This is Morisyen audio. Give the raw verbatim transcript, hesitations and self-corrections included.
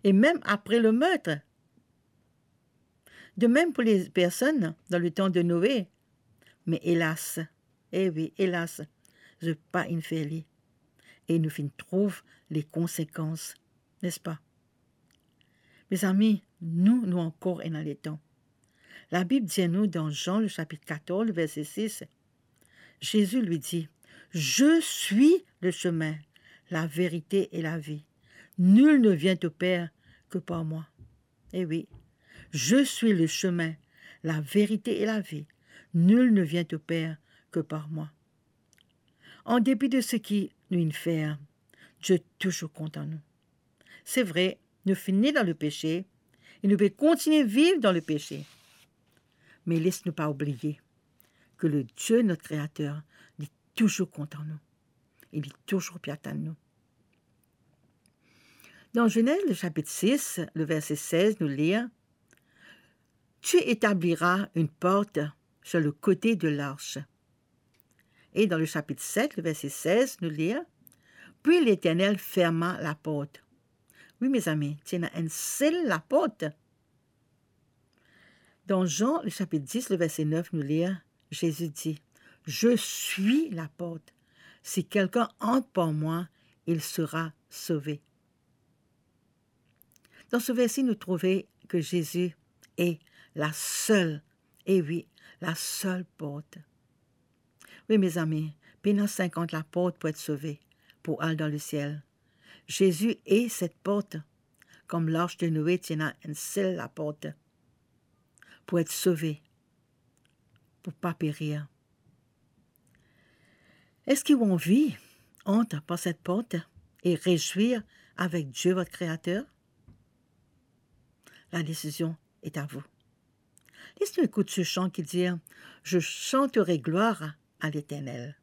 et même après le meurtre. De même pour les personnes dans le temps de Noé. Mais hélas, eh oui, hélas, zot pa inn fer li. E nou finn trouv les conséquences, n'est-ce pas? Mezami, nou, nou ankor ena letan. Labib dir nou dan Jean, le chapitre quatorze, le verset six, Jésus lui dit, « Je suis le chemin, la vérité et la vie. Nul ne vient au Père que par moi. » Eh oui, « Je suis le chemin, la vérité et la vie. Nul ne vient au Père que par moi. » An depi de seki nou inn fer, Dieu touzour kontan nou. Se vre, nou finn ne dan lepese e nou pe kontigne viv dan lepese. Me les nou pa oubliye ke le Dieu, notre Créateur, li touzour kontan nou. E li touzour pe atann nou. Dan Zenez, le chapitre six, le verset seize, nou lir, « Tu établiras une porte sur le côté de l'arche. » Et dans le chapitre sept, le verset seize, nous lire, « Puis l'Éternel ferma la porte. » Wi, mezami, ti ena enn sel laport. Dan Jean, le chapitre dix, le verset neuf, nous lire, Jésus dit, « Je suis la porte. Si quelqu'un entre par moi, il sera sauvé. » Dan se verse, nou trouve ke Zezi e la sel, e wi, la sel port. Wi, mezami, pena sinkant laport pou et sove, pou al dan lesiel. Zezi e set port, kom larch de Noe ti ena enn sel laport, pou et sove, pou pa perir. Eski ou anvi ant par set port e rezwir avek Die, vot Kreater? La desizion est à vous. Les nou ekout se san ki dir, « Je chanterai gloire à l'Éternel. »